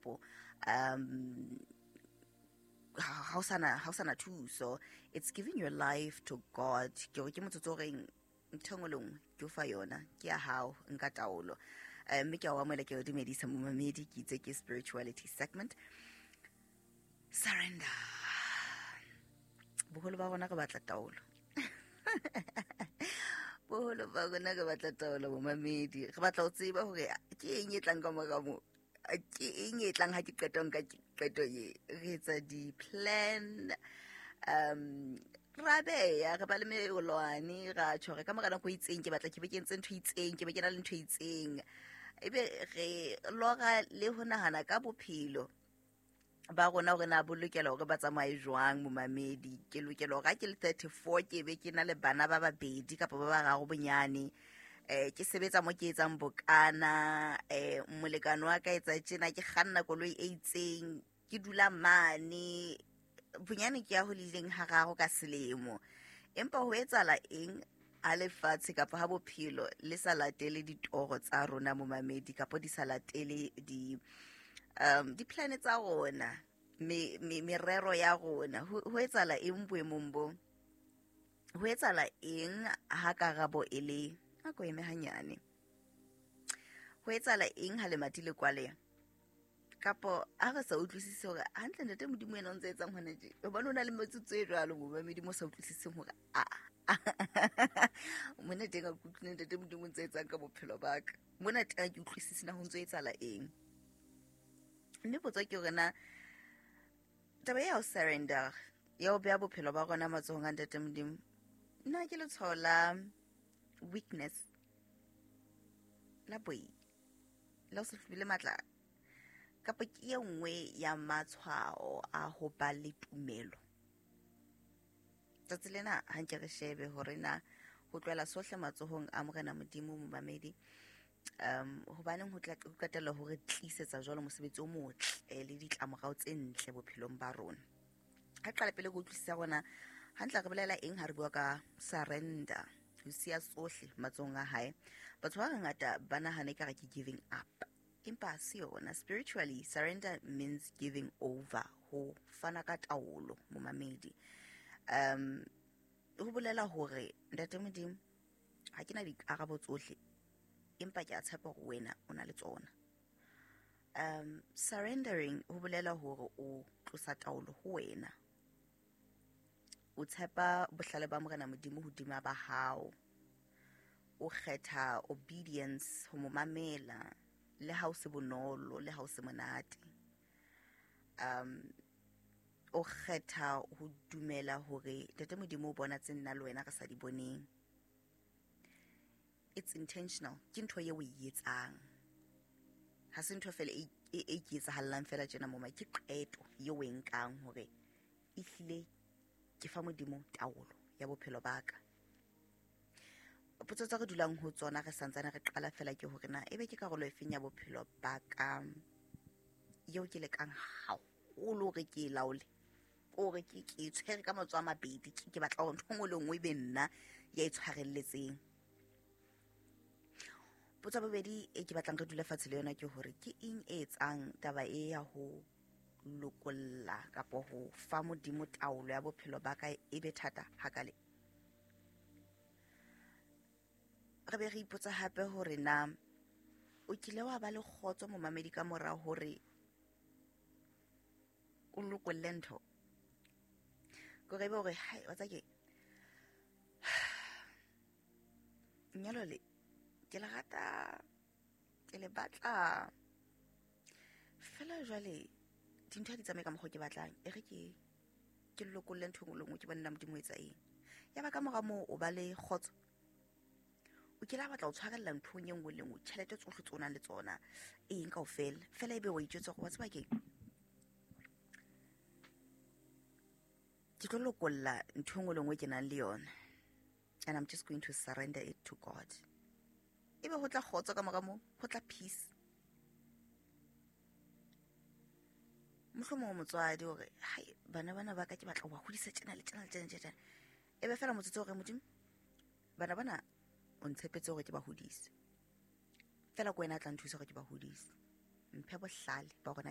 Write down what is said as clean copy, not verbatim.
Kapo ha o sana thuso. It's giving your life to God. Ke hore ke motsotso o reng ntho engwe le nngwe ke o fa yona, ke ya hao, nka taolo. Mme ke a o amohela, ke o dumedisa momamedi, ke itse ke spirituality segment. Surrender. Boholo ba rona re batla taolo. Boholo ba rona re batla taolo momamedi. Re batla ho tseba hore ke eng e tlang ka mora moo, ke eng e tlang ha ke qeta nka qeto e. Re etsa di-plan, ra beya, re ba le melwane, ra tjho re ka mora nako e itseng ke batla ke be ke entse ntho e itseng, ke be ke na le ntho e itseng. Ebe re lora le ho nahana ka bophelo ba rona hore na bo lokela hore ba tsamaye jwang momamedi. Ke lokela hore ha ke le 34 ke be ke na le bana ba babedi kapa ba bararo bonyane, ke sebetsa mo ke etsang bokana, molekane wa ka etsa tjena, ke kganna koloi e itseng, ke dula mane bonyane ke ya holileng hararo ka selemo. Empa ho etsahala eng ha lefatshe kapa ha bophelo le sa latele ditoro tsa rona momamedi, kapa di sa latele di di-plan tsa rona, merero ya rona? Ho etsahala eng boemong bo? Ho etsahala eng ha karabo e le a ko eme hanyane? Ho etsahala eng ha lemati le kwaleha? Kapo ha re sa utlwisise hore hantle ntate Modimo yena o ntse etsang hona tje, hobane o na le metsotso e jwalo momamedi mo sa utlwisiseng hore a mona teng a kutlwile ntate Modimo o ntse etsang ka bophelo ba ka, mona teng ha ke utlwisise na ho ntso etsahala eng. Mme potso ke hore na taba ya ho surrender, ya ho beha bophelo ba rona matsohong a ntate Modimo, na ke letshwao la weakness, la boi, la ho se hlole matla, kapa ke e nngwe ya matshwao a ho ba le tumelo? Tsatsi lena ha nke re shebe hore na ho tlohela sohle matsohong a Morena Modimo momamedi, hobaneng ho tla qetella hore tlisetsa jwalo mosebetsi o motle le ditlamorao tse ntle bophelong ba rona. Ha qala pele go utlwisisa rona hantle re bolela eng ha re bua ka surrender, ho siya tsohle matsohong a hae. Batho ba bangata ba nahana ekare ke giving up, empa ha se yona. Spiritually, surrender means giving over, ho fana ka taolo momamedi. Ho bolela hore ntate Modimo ha ke na dikarabo tsohle, empa ke a tshepa hore wena o na le tsona. Surrendering ho bolela hore o tlosa taolo ho wena, o tshepa bohlale ba Morena Modimo hodima ba hao, o kgetha obedience, ho mo mamela le ha o se bonolo le ha o se monate. O kgetha ho dumela hore ntate Modimo o bona tse nna le wena re sa di boneng. It's intentional, ke ntho eo o e etsang, ha se ntho fela e ke etsahallang fela tjena moma, ke qeto eo o e nkang hore ehlile ke fa Modimo taolo ya bophelo ba ka. Potso tse re dulang ho tsona re santsane re qala fela ke hore na ebe ke karolo efeng ya bophelo ba ka eo ke lekang haholo hore ke e laole, hore ke e tshwere ka matsoho a mabedi, ke batla hore ntho e nngwe le nngwe e be nna ya e tshwarelletseng. Potso ya bobedi e ke batlang re dule fatshe le yona ke hore ke eng e etsang taba e ya ho lokolla kapa ho fa Modimo taolo ya bophelo ba ka e be thata hakale? Re be re ipotsa hape hore na o kile wa ba le kgotso momamedi ka mora hore o lokolle ntho? Ke hore ebe hore, hai, wa tseba ke lenyalo le ke le rata, ke le batla fela, jwale dintho ha di tsamaye ka mokgwa o ke batlang, e re ke lokolle ntho e nngwe le nngwe, ke bone na Modimo o etsa eng. Ya ba ka mora moo o ba le kgotso, o kile a batla ho tshwarella nthong e nngwe le nngwe, tjhelete tsohle tse o nang le tsona, eng kaofela fela, ebe wa itjwetsa hore wa tseba keng, ke tlo lokolla ntho e nngwe le nngwe ke nang le yona, and I'm just going to surrender it to God. Ebe ho tla kgotso ka mora moo, ho tla peace. Mohlomong motswadi hore hai, bana bana ba ka ke batla ho ba hodisa tjena le tjena le tjena le tjena. Ebe fela motsotso hore Modimo, bana bana o ntshepetse hore ke ba hodise, fela ke wena a tla nthusa hore ke ba hodise, mphe bohlale ba hore na ke